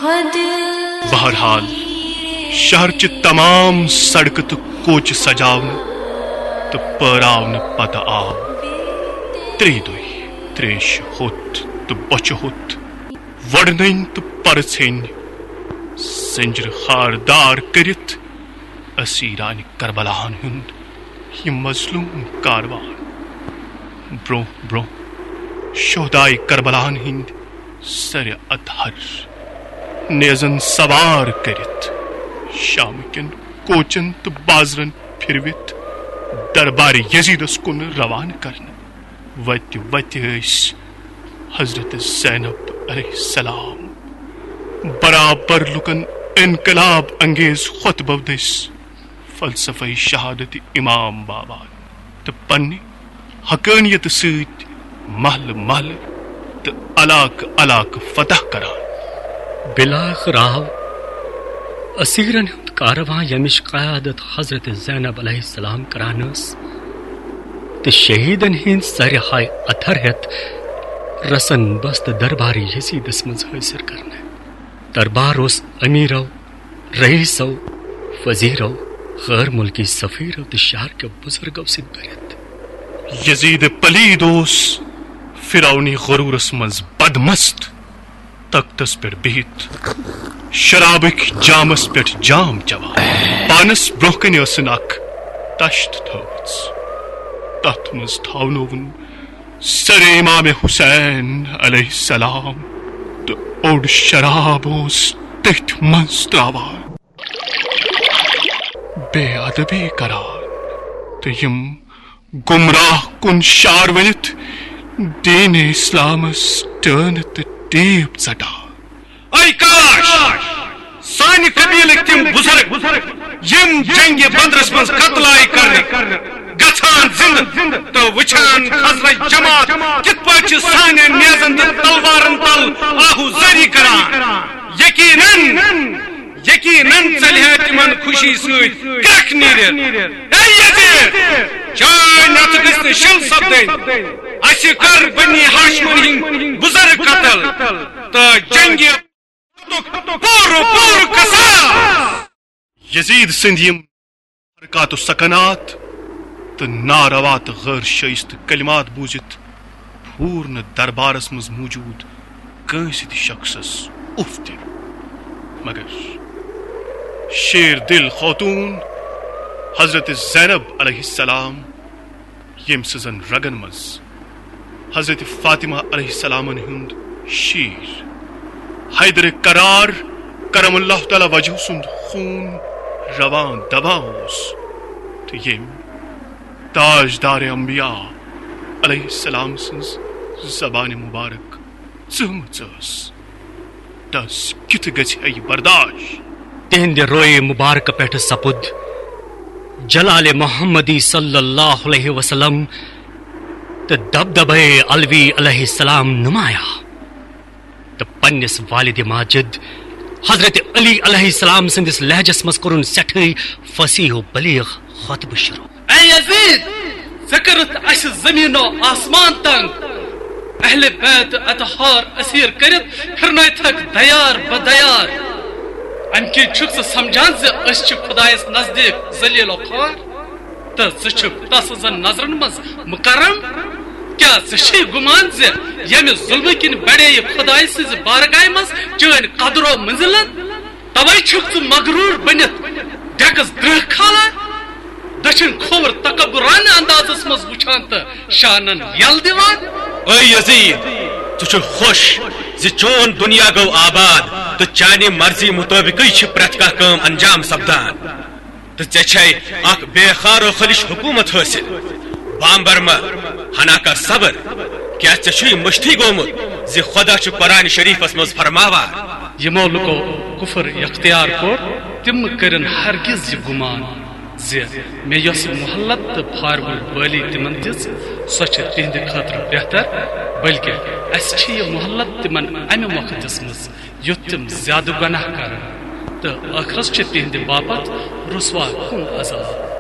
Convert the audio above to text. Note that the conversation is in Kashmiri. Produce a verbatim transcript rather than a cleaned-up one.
بہرحال، شہرچہِ تمام سڑکہٕ تہٕ کوچہِ سجاونہٕ تہٕ پٲراونہٕ پتہٕ آو ترٛیٚیہِ دۄہہِ تریش ہوٚت تہٕ بۄچھِ ہوٚت، وۄڑنٕنۍ تہٕ پرژھٕنۍ زنجیرٕ خاردار کٔرِتھ اسیرانہِ کربلاہن ہُنٛد یہِ مظلوم کاروان۔ برونٛہہ برونٛہہ شہدائے کربلاہن ہٕنٛدۍ سرِ اطہر نیزن سوار کٔرِتھ، شام کٮ۪ن کوچن تہٕ بازرن پھِروِتھ دربار یزیدس کُن روانہٕ کرنہٕ۔ وتہِ وتہِ ٲسۍ حضرت زینب علیہ السلام برابر لُکن انقلاب انگیز خطبو دٔسۍ فلسفہ شہادت امام باوان تہٕ پننہِ حقانیت سۭتۍ محلہٕ محلہٕ تہٕ علاقہٕ علاقہٕ فتح کران۔ بلاخر آو اسیرن ہُنٛد کاروان، ییٚمِچ قیادت حضرت زینب علیہ السلام کران ٲس، تہٕ شہیدن ہٕنٛدۍ سرِ ہاے اتھر ہٮ۪تھ رسن بست دربار یزیدس منٛز حٲضِر کرنہٕ۔ دربار اوس امیرو، رئیسو، وزیرو، غٲر مُلکی سفیرو تہٕ شہر کیو بزرگو سۭتۍ بٔرِتھ۔ یزید پلید اوس فرعونی غرورس منٛز بدمست، تختس پٮ۪ٹھ بِہِتھ شرابٕکۍ جامس پٮ۪ٹھ جام چٮ۪وان۔ پانس برونٛہہ کنہِ ٲسٕن اکھ تشت تھٲومٕژ، تتھ منٛز تھاونووُن سر امام حسین علیہ السلام تہٕ اوٚڑ شراب اوس تٔتھۍ منٛز تراوان۔ بے ادبی کران تہٕ یِم گمراہ کن شار ؤنِتھ دین اسلامس ٹٲنہٕ تہٕ ٹیپ ژٹان۔ اے کاش! سانہِ قبیلٕکۍ تِم بزرگ، یِم جنگِ بدرس منٛز قتل آیہِ کرنہٕ، گژھان زندٕ تہٕ وٕچھان خزرج جماعت کِتھ پٲٹھۍ چھِ سانٮ۪ن نیزن تہٕ تلوارن تل آہو زٲری کران۔ یقیناً، یقیناً ژلہِ ہے تِمن خوشی سۭتۍ کرٛکھ نیٖرِتھ۔ اے یزید! چٲنۍ نژٕ گٔژھ نہٕ شِل سپدٕنۍ۔ اسہِ کر بنی ہاشمن ہٕنٛدۍ بزرگ قتل تہٕ جنگِ پورٕ پورٕ قصاص۔ یزید سٕنٛدۍ یِم حرکات و سکنات تہٕ ناروا تہٕ غٲر شائستہٕ کلمات بوٗزِتھ پھوٗر نہٕ دربارس منٛز موجود کٲنٛسہِ تہِ شخصس اُف تہِ۔ مگر شیر دل خاتون حضرت زینب علیہ السلام، ییٚمۍ سٕنٛزن رگن منٛز حضرت فاطمہ علیہ السلامن ہُنٛد شیر حیدر کرار کرم اللہ تعالی وجہہ سُنٛد خوٗن روان دوان اوس، تہٕ ییٚمۍ تاجدار انبیاء علیہ السلام سٕنٛز زبان مبارک ژٲمٕژ ٲس، تس کِتھ گژھِ ہے یہِ برداشت؟ تِہنٛدِ رویہِ مبارکہٕ پٮ۪ٹھٕ سپُد جلال محمدی صلی اللہ علیہ وسلم تہٕ دبدبے علوی علیہ السلام نمایاں، تہٕ پننِس والد ماجد حضرت علی علیہ السلام سٕنٛدِس لہجس منٛز کوٚرُن سٮ۪ٹھٕے فصیح و بلیغ خطبہٕ شروع۔ اے یزید، ژےٚ کٔرٕتھ اسہِ زمین و آسمان تنگ۔ اہل بیت اطہار اسیر کٔرِتھ پھرنٲوتھکھ دیار بدیار۔ امہِ کِنۍ چھُکھ ژٕ سمجھان زِ أسۍ چھِ خدایس نزدیٖک ذلیل و خوار؟ تہٕ ژٕ چھُکھ تس سٕنٛزن نظرن منٛز مکرم؟ کیٛاہ ژےٚ چھُے گُمان زِ ییٚمہِ ظلمہٕ کِنۍ بڑے یہِ خدایہِ سٕنٛزِ بارگاہہِ منٛز چٲنۍ قدر و منزلت؟ توے چھُکھ ژٕ مغرور بٔنِتھ ڈیکس درہ کھالان، دٔچھِنۍ کھووُر تکبرانہ اندازس منٛز وٕچھان تہٕ شانن یل دِوان۔ اے یزید، ژٕ چھُکھ خۄش زِ چون دُنیا گوٚو آباد تہٕ چانہِ مرضی مُطٲبقٕے چھِ پرٛٮ۪تھ کانٛہہ کٲم انجام سپدان۔ تہٕ ژےٚ چھے اکھ بے خار و خلش حکومت حٲصِل۔ بامبر مہ، ہنا کر صبر۔ کیٛاہ ژےٚ چھُے مٔشتھٕے گوٚمُت زِ خۄدا چھُ قرآن شریٖفس منٛز فرماوان؟ یِمو لُکو کُفر اختیار کوٚر، تِم کٔرِن ہرگز یہِ گُمان زِ مےٚ یۄس مۄہلت تہٕ پھارِ وُل بٲلی تِمن دِژ، سۄ چھِ تِہنٛدِ خٲطرٕ بہتر، بلکہِ اسہِ چھِ یہِ مۄہلت تِمن امہِ مۄکھٕ دِژمٕژ یُتھ تِم زیادٕ گۄناہ کرن، تہٕ ٲخرس چھِ تِہنٛدِ باپتھ رسوا کُن عذاب۔